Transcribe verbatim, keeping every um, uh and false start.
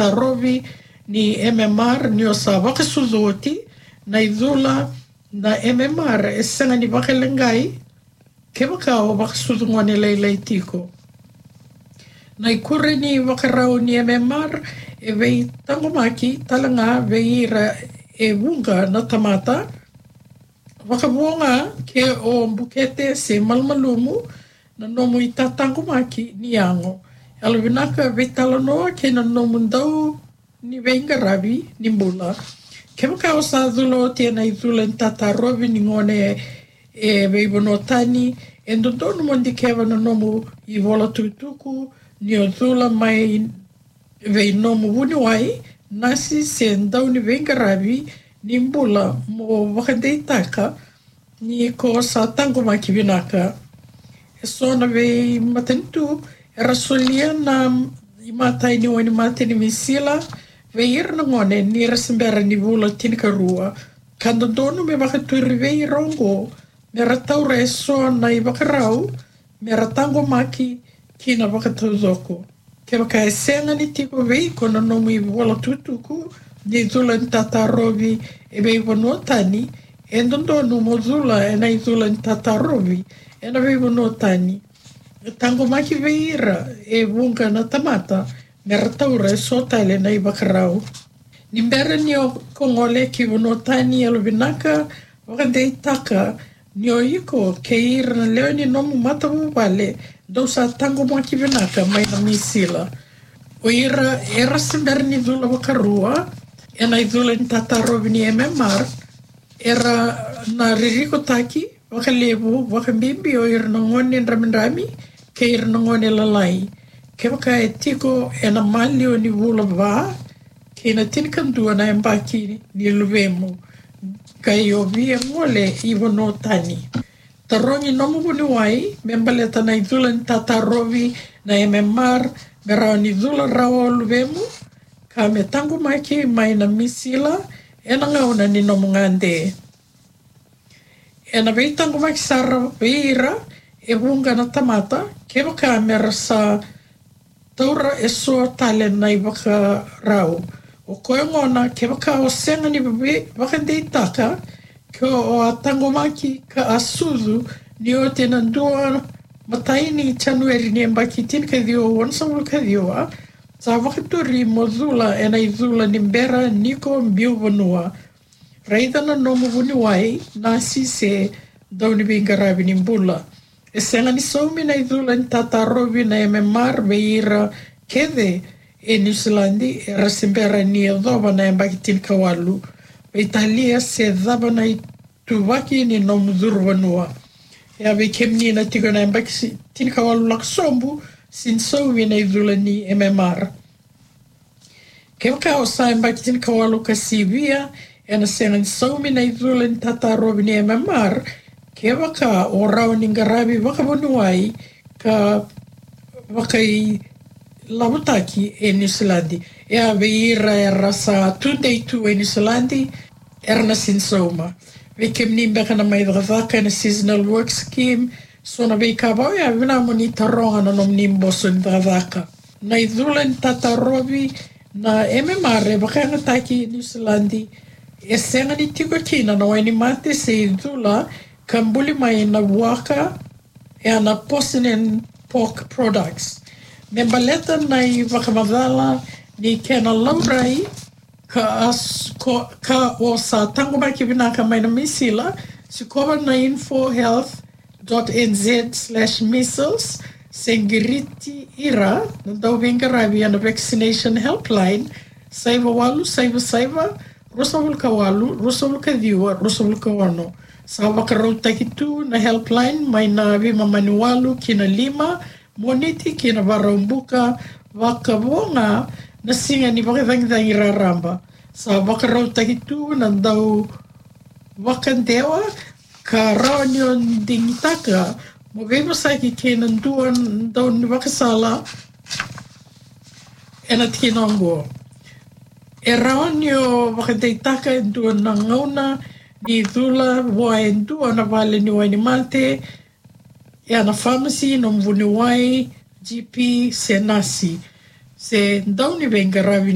tarovi ni M M R ni o sa vakasucu oti na icula na M M R e sega ni vakaleqai kevaka o vakasucu gone lailai tiko. Na ikuri ni vakarau ni M M R e veitaqomaki tale ga vei ira e vuqa na tamata, vakavuqa ke o bukete se malumalumu na nomu itataqomaki ni yago. Yalovinaka veitalanoa kei na nomu dau ni veiqaravi ni bula. Kevaka o sa cula oti ena icula ni tatarovi ni gone e veivanua tani, e dodonu mo dikeva na nomu ivola tukutuku ni o cula mai vei nomu vuniwai, nasi se dau ni veiqaravi ni bula mo vakadeitaka ni ko sa taqomaki vinaka. E so na veimatanitu era solia na imatai ni wainimate ni misila vei ira na gone ni ra se bera ni vula tinikarua, ka dodonu me vakaturi vei ira oqo me ra taura e so na ivakarau me ra taqomaki kina vakataucoko. Kevaka e sega ni tiko vei iko na nomu ivola tukutuku ni cula ni tatarovi e veivanua tani, e dodonu mo cula ena icula ni tatarovi ena veivanua tani. E taqomaki vei ira e vuqa na tamata me ra taura e so tale na ivakarau. Ni bera ni o ko gole ki vanua tani, yalovinaka vakadeitaka ni o iko kei ira na lewe ni nomu matavuvale dou sa taqomaki vinaka mai na misila. O ira era se bera ni cula vakarua ena icula ni tatarovi ni M M R era na ririkotaki vakalevu vakabibi o ira na gone dramidrami kei ira na gone lalai. Kevaka e tiko ena maliwa ni vula va kei na tinikadua na yabaki ni luvemu, qai o via gole i vanua tani, tarogi nomu vuniwai me baleta na icula ni tatarovi na M M R me rawa ni cula rawa o luvemu ka me taqomaki mai na misila ena gauna ni nomu gade. Ena veitaqomaki sara vei ira e vuqa na tamata kevaka me ra sa taura e so tale na ivakarau. O koya gona kevaka o sega ni vakadeitaka ke o a taqomaki ka a sucu ni oti na dua matai ni Janueri ni yabaki tinikaciwa walusagavulu kaciwa, sa vakaturi mo cula ena icula ni bera ni ko biu vanua. Raica na nomu vuniwai, nasi se dau ni veiqaravi ni bula. E sega ni saumi na icula ni tatarovi na M M R vei ira kece e New Zealand era se bera ni yacova na yabaki tinikawalu, veitalia se cava na ituvaki ni nomu curu vanua. E a vei kemuni na tiko na yabaki tinikawalu lako sobu, sega ni saumi na icula ni M M R. Kevaka o sa yabaki tinikawalu ka sivia, ena sega ni saumi na icula ni tatarovi ni M M R kevaka o rawa ni qaravi vakavuniwai ka vakailavotaki e New Zealand. E a vei ira era sa tudei tu e New Zealand, era na sega ni sauma. Vei kemuni beka na mai cakacaka ena seasonal work scheme, so na veika vau ya vinamuni taroga na nomuni boso ni cakacaka. Na icula ni tatarovi na M M R e vakayagataki e New Zealand, e sega ni tiko kina na wainimate se icula ka buli mai na vuaka, e a na porcine and pork products. Me baleta na ivakamacala ni kena laurai ka, as, ko, ka o sa taqomaki vinaka mai na misila, sikova na info health dot N Z slash measles, se qiriti ira na dauveiqaravi ena vaccination helpline, saiva walu saiva saiva, ruasagavulu ka walu, ruasagavulu ka ciwa, ruasagavulu ka ono. Sa vakarautaki tu na helpline mai na veimama ni walu ki na lima, Moniti ki na Vakaraubuka, vakavuqa na siga ni vakacagicagi raraba. Sa vakarautaki tu na dauvakadewa ka rawa ni o digitaka mo veivosaki kei na dua na daunivakasala ena tikina oqo. E rawa ni o vakadeitaka e dua na gauna ni cula vua e dua na vale ni wainimate, e a na famasi, nomu vuniwai, G P se nasi, se dauniveiqaravi ni